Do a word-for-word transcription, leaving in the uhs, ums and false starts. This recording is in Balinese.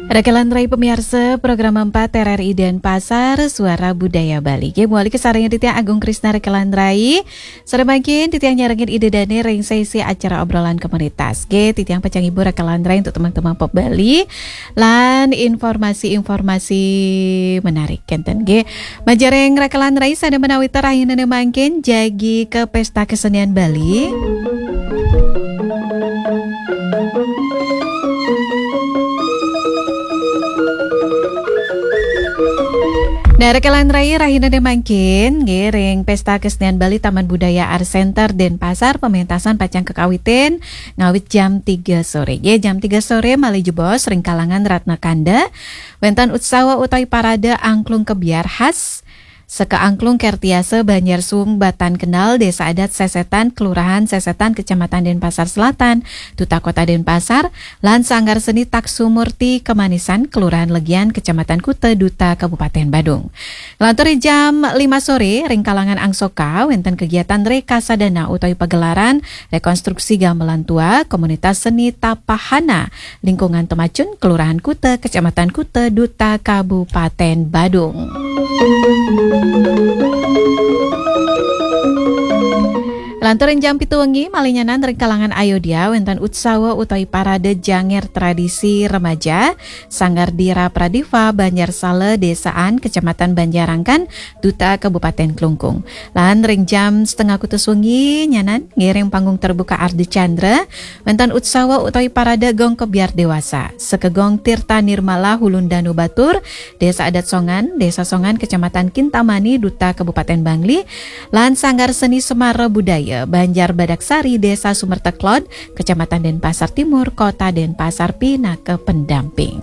Rekelan Rai pemiarsa program empat R R I Denpasar, Suara Budaya Bali. Nggih, mawali kasarengin titiang Agung Krisna Rekelan Rai. Sareng mangkin titiang nyarengin Ida Dane ring sesi acara obrolan komunitas. Nggih, titiang pacang ngibur Rekelan Rai untuk teman-teman pop Bali. Lan informasi-informasi menarik kenten nggih. Majeng ring Rekelan Rai sane menawi rahinaning mangkin jagi ka Pesta Kesenian Bali. Nah, Rekelan Rai rahinaning mangkin nggih ring Pesta Kesenian Bali Taman Budaya Art Center Denpasar pementasan pacang kakawitin ngawit jam tiga sore. Nggih, jam tiga sore malih jebos ring kalangan Ratna Kanda wenten utsawa utawi parade angklung kebyar khas saka Angklung Kertiasa Banjar Suwung Batan Kendal, Desa Adat Sesetan, Kelurahan Sesetan, Kecamatan Denpasar Selatan, Duta Kota Denpasar, lan Sanggar Seni Taksumurti Kemanisan, Kelurahan Legian, Kecamatan Kuta, Duta Kabupaten Badung. Lantur jam lima sore, ring kalangan Angsoka, wenten kegiatan Rekasadana utawi pagelaran rekonstruksi gamelan tua Komunitas Seni Tapahana, Lingkungan Temacun, Kelurahan Kuta, Kecamatan Kuta, Duta Kabupaten Badung. Lantur ring jam pitu wengi, malih nyanan ring kalangan Ayodya, wenten utsawa utawi parade janger tradisi remaja, Sanggar Dira Pradiva, Banjar Sala, Desaan, Kecamatan Banjarangkan, Duta Kabupaten Klungkung. Lan ring jam setengah kutus wengi, nyanan ngiring panggung terbuka Ardi Chandra, wenten utsawa utawi parade gong kebyar dewasa. Saka Gong Tirta Nirmala Hulun Danu Batur, Desa Adat Songan, Desa Songan, Kecamatan Kintamani, Duta Kabupaten Bangli, lan Sanggar Seni Semara Budaya, Banjar Badaksari, Desa Sumerteklod, Kecamatan Denpasar Timur, Kota Denpasar, pinaka pendamping.